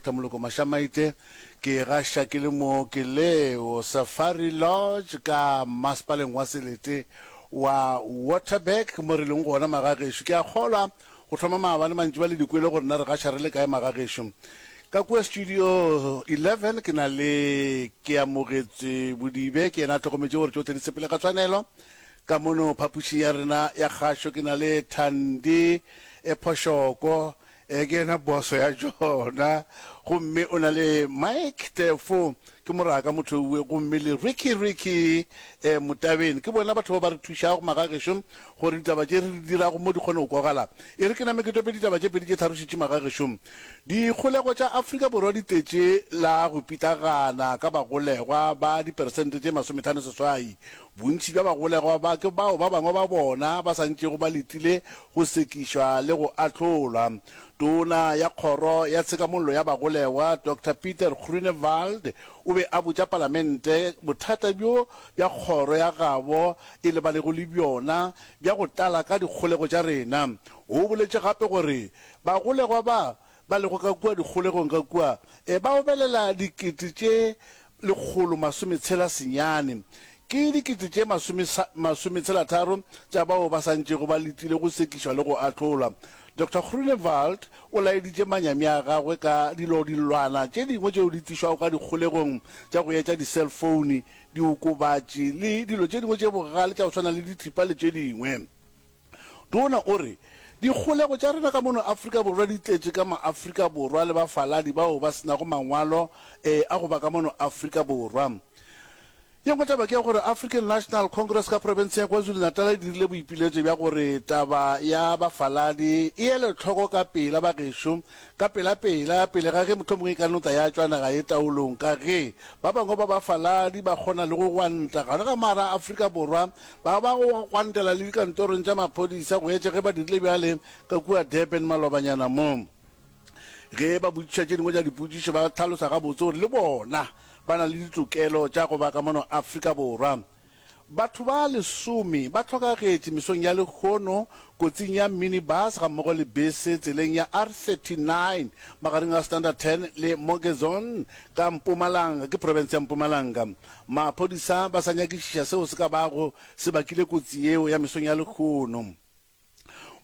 Doctor Moloko Mashamaite. Ke gaša ke le mo ke leo Safari Lodge ka masepaleng wa selete wa Waterberg mo re leng gona magagešo. Ke a kgolwa go thoma maabane mantšiba le di kwele gore na re gaša re le kae magagešo. Ka kua studio 11 ke na le Keamogetswe Bodibe, ke yena a hlokometše gore tšohle di sepele ka tshwanelo. Ka mono phapošing ya rena ya kgašo ke na le Thandi Phošoko, E, ke yena boso ya tšona. Gomme o na le Mike Tefo, ke moraka motho owe, gomme le Ricky Ricky e, Motabeng. Ke bona batho ba ba re thušago magagešo gore ditaba tše re di dirago mo di kgone go kwagala. E re ke name ke tope ditaba tše pedi tše tharo šetše magagešo. Dikgolego tša Afrika Borwa di tletše la go pitlagana ka bagolegwa ba diperesente tše masometlhano seswai. Bontši bja bagolegwa ba ke bao ba bangwe ba bona ba sa ntšego ba letile go sekišwa le go ahlolwa. Tona ya Kgoro ya Tshekamollo ya Bagolegwa, Doctor Pieter Groenewald, o be a botša Palamente bothata bjo bja kgoro ya gabo e lebanego le bjona bja go tlala ka dikgolego tša rena. O boletše gape gore bagolegwa ba ba lego ka kua dikgolegong ka kua e ba obelela dikete tše 169 ke dikete tše masometshelatharo tša bao ba sa ntšego ba letile go sekišwa le go ahlolwa. Doctor Groenewald o laeditše manyami a gagwe ka dilodilwana tše dingwe tšeo di tlišwago ka dikgolegong tša go etša di-cellphone, diokobatši le dilo tše dingwe tše bogale tša go swana le dithipa le tše dingwe. Tona o re, Dikgolego tša rena ka mono Afrika Borwa di tletše ka maAfrika Borwa le bafaladi bao ba se nago mangwalo a go ba ka mono Afrika Borwa. Ye nngwe taba ke ya gore African National Congress ka profenseng ya KwaZulu-Natal e dirile boipiletšo bja gore taba ya bafaladi e elwe hloko ka pela bagešo ka pelapela pele ga ge mohlomongwe e ka no tla ya tšwa naga ye taolong ka ge ba bangwe ba bafaladi ba kgona le go gwanta gare ga mara a Afrika Borwa Ba ba go gwantela le dikantorong tša maphodisa go etša ge ba dirile bjale ka kua Durban malobanyana mo. Ge ba botšiša tše dingwe tša dipotšišo ba hlalosa gabotse gore le bona ba na le ditokelo tša go ba ka mono Afrika Borwa. Batho ba lesome ba hlokagetše mesong ya lehono kotsing ya minibus gammogo le bese tseleng ya R39 magareng ga Standerton le Morgezon ka Mpumalanga, ke profense ya Mpumalanga. Maphodisa ba sa nyakišiša seo se ka bago se bakile kotsi yeo ya mesong ya lehono.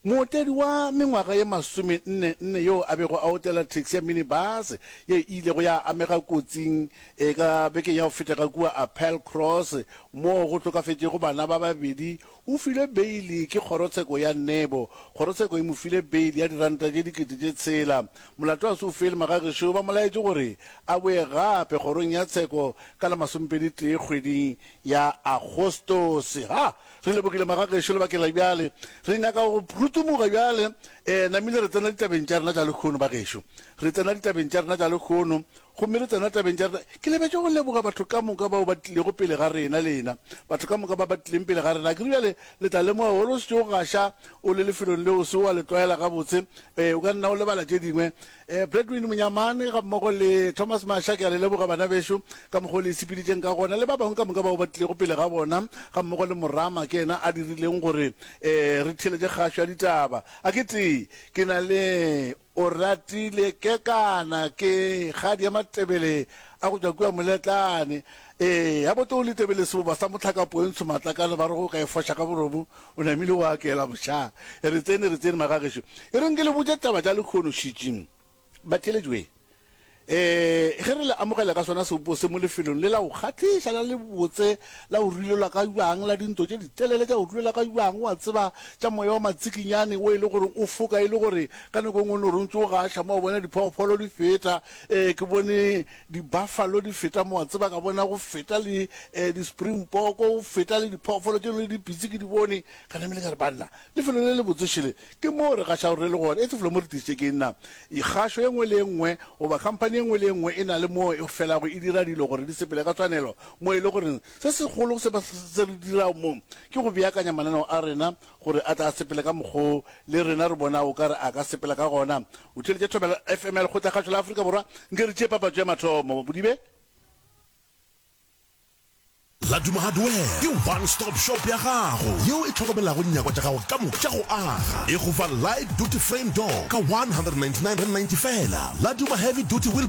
Mootledi wa mengwaga ye masomenne nne yoo a bego a otlela taxi ya minibus ye e ilego ya amega kotsing e ka bekeng ya go feta ka kua Appelcross moo go hlokafetšego bana ba babedi o filwe beili ke kgorotsheko ya Nebo. Kgorotsheko e mo file beili ya diranta tše 6000. Molato ga se o fele, magagešo ba mo laetše gore a boe gape kgorong ya tsheko ka la masomepedi-tee kgweding ya Agostose. Ha! Re lebogile magagešo lebakeng la bjale. Re nyaka go rutumuga bjale. E, namile re tsena ditabeng tša rena tša lehono, bagešo. Re tsena ditabeng tša rena tša lehono. Gomme re tsena tabeng tša rena. Ke lebetše go leboga batho ka moka bao ba tlilego pele ga rena, lena batho ka moka ba ba tlileng pele ga rena. Akere bjale le tla lemoga gore o šetše o gaša o le lefelong leo o se wa le tlwaela gabotse. Ee, o ka nna o lebala tše dingwe. Ee, Bradwin Monyamane gammogo le Thomas Masha, ke a le leboga bana bešo ka mokgwa o le e sepeditšeng ka gona, le ba bangwe ka moka bao ba tlilego pele ga bona, gammogo le Morama, ke yena a dirileng gore ee re theeletše kgašo ya ditaba. A ke tee, ke na le. O ratile Kekana ke kgadi ya Matebele a go tšwa kua Moletlane. Ee, a bote o Letebele seboba sa mohlakapo e ntsho matlakane ba re go ka e foša ka boromo o namile wa akela mošaa. Re tsene, re tsene magagešo. E reng ke le botše taba tša lekhono šitši. Batheeletši wee. Ee, ge re le amogela ka sona sebopo se mo lefelong le la go kgahliša, la lebotse, la go rulelwa ka bjang, la dintlo tše ditelele tša go rulelwa ka bjang, wa tseba, tša moya wa matsikinyane wo e le gore o foka e le gore ka nako e nngwe o no re o ntše o gaša mo, wa bona diphoofolo di feta. Ee, ke bone di-buffalo di feta mo, wa tseba, ka bona go feta le ee, di-springbok, go feta le diphoofolo tše dingwe le dipitsi ke di bone. Ka namile ka re, Banna, Lefelo le lebotse šele ke moo re gašago re le gona. Etse felo mo re tlišitše ke nna. Kgašo ye nngwe le ye nngwe goba khamphani ye nngwe le ye nngwe e na le moo e felago e dira dilo gore di sepele ka tshwanelo, mo e le gore se segolo se ba se re dirago mo ke go beakanya mananeo a rena gore a tla a sepele ka mokgwa o le rena re bonago o ka re a ka sepela ka gona. O theeletše Thobela FM ya Lekgotlakgašo la Afrika Borwa. Nke re tšee papatšo ya mathomo. Bodibe. Laduma Hardware ke one stop shop ya gago yeo e hlokomelago dinyakwa tša gago ka moka tša go aga. E go fa light duty frame door ka R199.90 fela, Laduma heavy duty wheel.